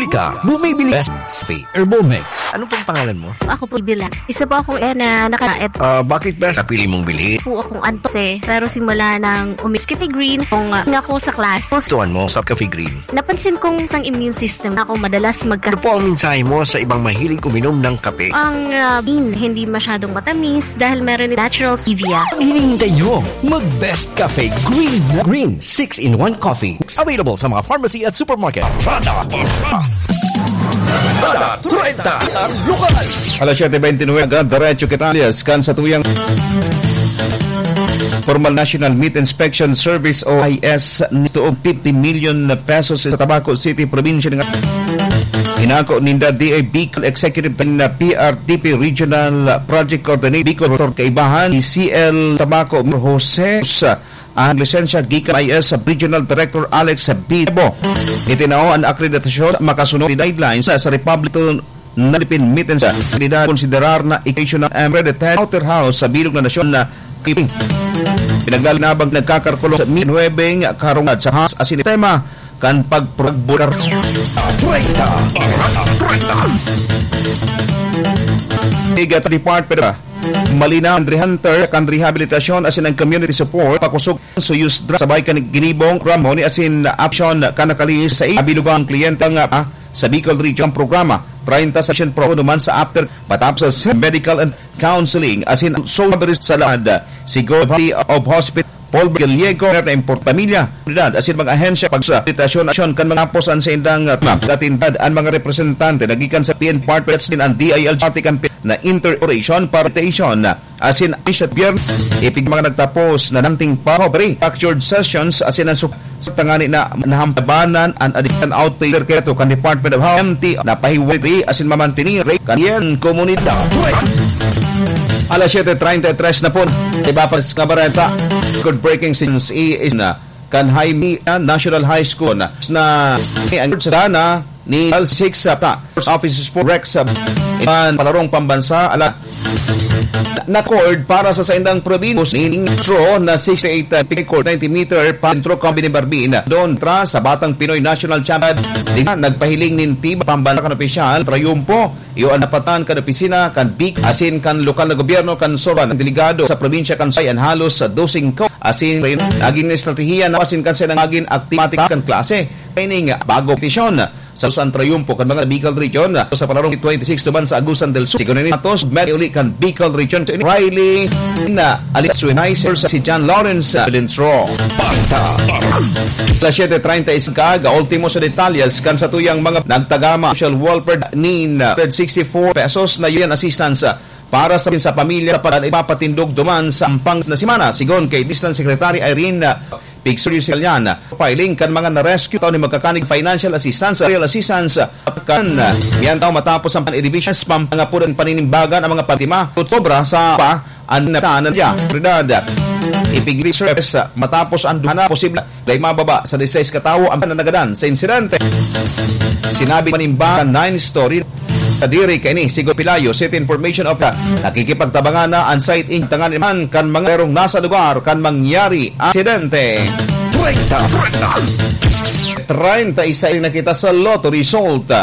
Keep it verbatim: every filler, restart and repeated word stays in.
Ika, bumibili Best Cafe Herbal Mix. Ano pong pangalan mo? Ako po, Bila. Isa po akong, eh, na naka-, et- Ah, bakit Best napili mong bilhin? Po akong antos, eh. Pero simula nang umis Cafe Green, kung, ah, nga ako sa class, Tuwan mo sa Cafe Green. Napansin kong isang immune system na ako madalas magka- Ano po ang mensahe mo sa ibang mahilig uminom ng kape? Ang, ah, green, hindi masyadong matamis dahil meron natural stevia. Ang hinihintay nyo, mag Best Cafe Green. Green six-in-one Coffee. Available sa mga pharmacy at supermarket. Barkada, barkada. Barkada treinta, lugar. Alas siyete bentynwebe, agad diretso kita, alias, kan sa tuyang formal National Meat Inspection Service o I S, nituog fifty million pesos sa Tabaco City, probinsya ng Inako ninda D A Bicol Executive Team na P R D P Regional Project Coordinator Bicol, Doctor Kaibahan, C L Tabaco, Jose, ang lisensya gikan I S Regional Director Alex Bitebo. Itinao ang akreditasyon makasunod ni guidelines sa Republic ng Philippine Meetings. Kandidato konsiderar na occasional and hereditary slaughterhouse sa bilog na nasyon na Kiping. Pinaglalinaban nagkakarkulong sa Minhuebeng karungad sa has asin tema kan pagpro-, Treinta, Treinta. Tiga Department of Malinaw, Country Hunter, kan rehabilitasyon asin ang community support, pakusog, suyos dra, sabay kan ginibong, Ramon, asin option, kan nakalis sa abilugang kliyente nga, ah, sa Bicol Region programa, treinta session pro naman sa after, matapos sa medical and counseling, asin so sa laad, siguro of hospital, Paul Gallego, na import pamilya, komunidad, asin mga ahensya, pag sa aksyon, aksyon kan mga posan sa indang, uh, katindad, ang mga representante nagikan sa P N Department din ang D I L G R T campaign na inter-operation, participation, asin, asin biyernes, ipig mga nagtapos na nangting pa, fractured sessions, asin ang sup-, sa tangani na nahampabanan ang additional outpatient care to kan Department of Health, M T, na pahiwari asin mamantini, kan yan, komunidad. Alas siyete treinta y tres na po. Iba pa sa bareta. Good breaking since i-, is na kan Jaime, ah, National High School na, na ang sana ni L six sa pa. Offices for Rex, ah, iban palarong pambansa, ala, na-record para sa saindang probinsya ni Ningtro na sixty-eight, ah, record ninety meter pa Centro Company Barbina. Doon tra sa Batang Pinoy National Champion, di na nagpahiling nin tiba pambansa kan opisyal, trayumpo, iyo ang napatan kan opisina, kan big, asin kan lokal na gobyerno, kan Sorban, ang delegado sa probinsya kan Sayan, halos sa dosing ko, asin naging estratehiya na asin kan siya naging aktimatik kan klase. Training, bago petisyon. Sa San Triunfo kan mga Bicol Region, sa palarong twenty-six naman sa Agusan del Sur. Sigon ni Matos, may uli kan Bicol Region. Riley na alis Winay, si John Lawrence, ah, Lintro. Sa siyete treinta y cinco, ga ultimo sa detalyes kan sa tuyang mga nagtagama social welfare nin, ah, sixty-four pesos na yan assistance, ah, para sa, sa pamilya sa pag-, ipapatindog duman sa ampang na semana. Sigon kay District Secretary Irene, ah, Pigsurio Sicilian, filing kan mga na-rescue tao ni magkakanig financial assistance, real assistance, kan, ah, yan tao matapos ang pan-edivision, pampangapod ang paninimbagan ang mga pantima, sobra sa pa, ang natanan niya. Realidad, ipig-research, ah, matapos ang duha na posible, dahil mababa sa disais katawo ang nanagadan sa insidente. Sinabi manimbagan nine story, Kadiri kaini, sigon Pelayo, City Information of the nakikipagtabangan na ang site in tangan man kan mga erong nasa lugar kan mangyari aksidente. Treinta, treinta. Treinta y seis na kita sa Lotto Result.